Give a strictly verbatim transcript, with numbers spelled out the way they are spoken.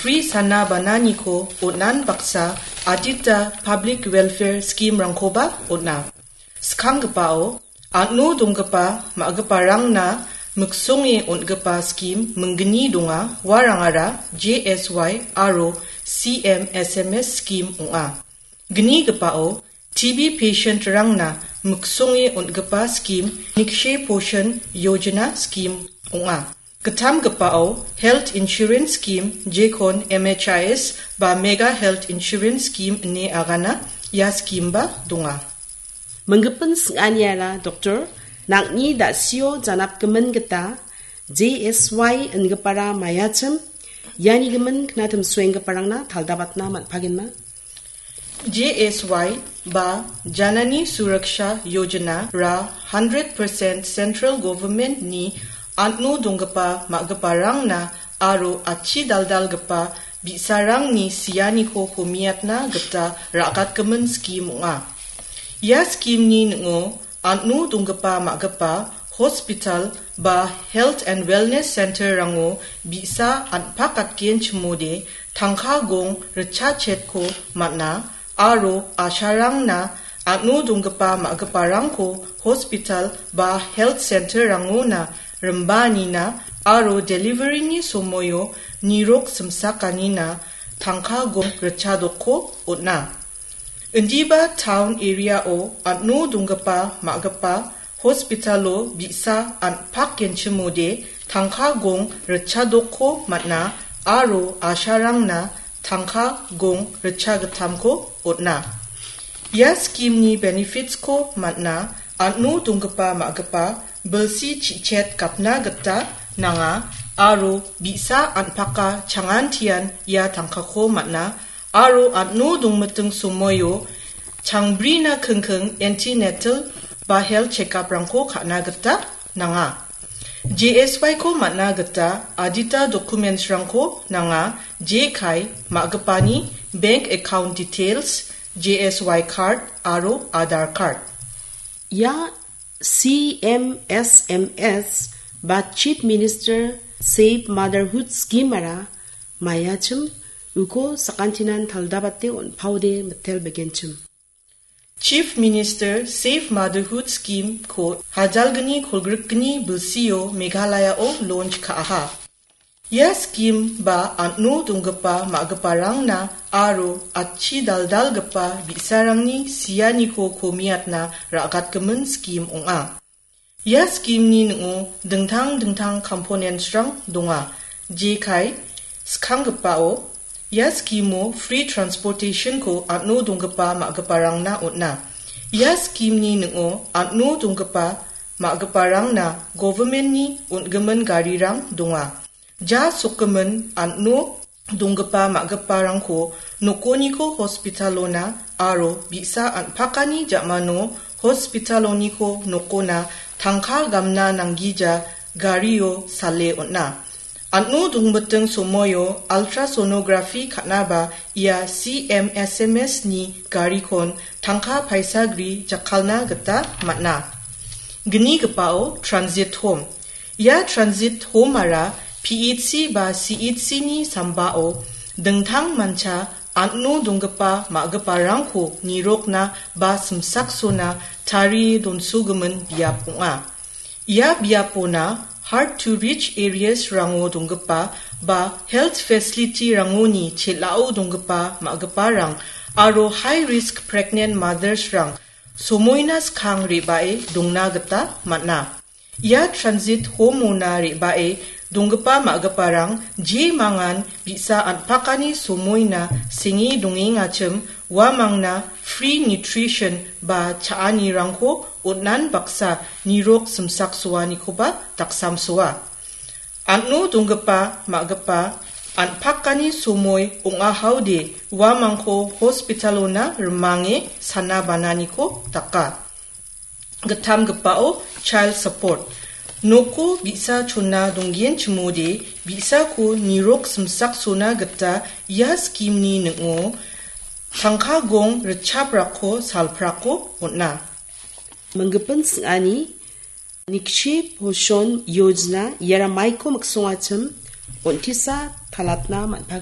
Pri sana bananiko on·an baksa adita public welfare scheme-rangkoba on·a. Skanggipao, an·o donggipa ma·giparangna miksonge on·gipa skim minggni donga, uarangara J S Y aro C M S M S skim ong·a. Gnigipao, T B patient-rangna miksonge on·gipa skim Nikshay Poshan Yojana skim ong·a. Gittamgipao, health insurance skim, jekon M H I S ba mega health insurance skim ine agana, ia skimba donga. Minggipin sing·aniara doktor, nang·ni da·sio janapgimin gita J S Y ingipara maiachim, iani gimin knatimsoenggiparangna taldabatna man·pagenma. J S Y ba Janani Suraksha Yojana ra hundred percent central government-ni an·o donggipa ma·giparangna aro atchi daldalgipa bi·sarangni sianiko homiatna gita ra·gatgimin skim ong·a. Ia skimni ning·o an·o donggipa ma·gipa hospital ba health and wellness center-rango bi·sa an·pakatgenchimode tangka gong ritchachetko man·a aro asharangna an·o donggipa ma·giparangko hospital ba health center-rangona rimbaanina aro delivery-ni somoio nirok simsakanina tangka gong ritchadokko on·a. Indiba town area-o an·o donggipa ma·gipa hospital-o bi·sa an·pakgenchimode tangka gong ritchadokko man·a aro asharangna tangka gong ritchagittamko on·a. Ia skimni benefits-ko man·a an·o donggipa ma·gipa bilsi chi·chet gapna gita nanga aro bi·sa an·paka changantian ia tangkako man·a aro an·o dongmiting somoio changbrina kingking antenatal ba health checkup-rangko ka·na gita nanga. J S Y-ko man·a gita adita documents-rangko nanga, jekai ma·gipani bank account details, J S Y card aro Aadhaar card. Ia C M S M S ba Chief Minister Safe Motherhood Scheme-ara maiachim, uko sakantinan taldabate on·paode mitel begenchim. Chief Minister Safe Motherhood Scheme-ko hajalgni kolgrikgni bilsio Meghalaya-o launch ka·aha. Ia skim ba an·o donggipa ma·giparangna aro atchi daldalgipa bi·sarangni sianiko komiatna ra·gatgimin skim ong·a. Ia skimni ning·o dingtang dingtang components-rang donga. Jekai skanggipao, ia skimo free transportation-ko an·o donggipa ma·giparangna on·a. Ia skimni ning·o an·o donggipa ma·giparangna government-ni on·gimin garirang donga. Ja sokgimin an·o donggipa ma·giparangko nokoniko hospital-ona aro bi·sa an·pakani ja·mano hospital-oniko nokona tangka gamna nanggija gario sale on·a. An·o dongmiting somoio ultrasonography ka·naba ia C M S M S-ni garikon tangka paisagri jakkalna gita man·a. Gnigipao transit home. Ia transit home-ara P H C ba C H C-ni sambao dingtang mancha an·o donggipa ma·giparangko nirokna ba simsaksona tarie donsogimin biap ong·a. Ia biapona hard to reach areas-rango donggipa ba health facility-rangoni chel·ao donggipa ma·giparang aro high risk pregnant mothers-rang somoina skang re·bae dongna gita man·a. Ia transit home-ona re·bae donggipa ma·giparang jemangan bi·sa an·pakani somoina senge dongengachim uamangna free nutrition ba cha·anirangko on·an baksa nirok simsaksoanikoba daksamsoa. An·o donggipa ma·gipa an·pakani somoi ong·ahaode uamangko hospital-ona rimange sana bananiko daka. Gittamgipao child support. Noko bi·sa chona donggenchimode bi·sako nirok simsaksona gita ia skimni ning·o tangka gong ritchaprako salprako on·a. Minggipin sing·ani Nikshay Poshan Yojana iara maiko miksongachim on·tisa talatna man·pagen.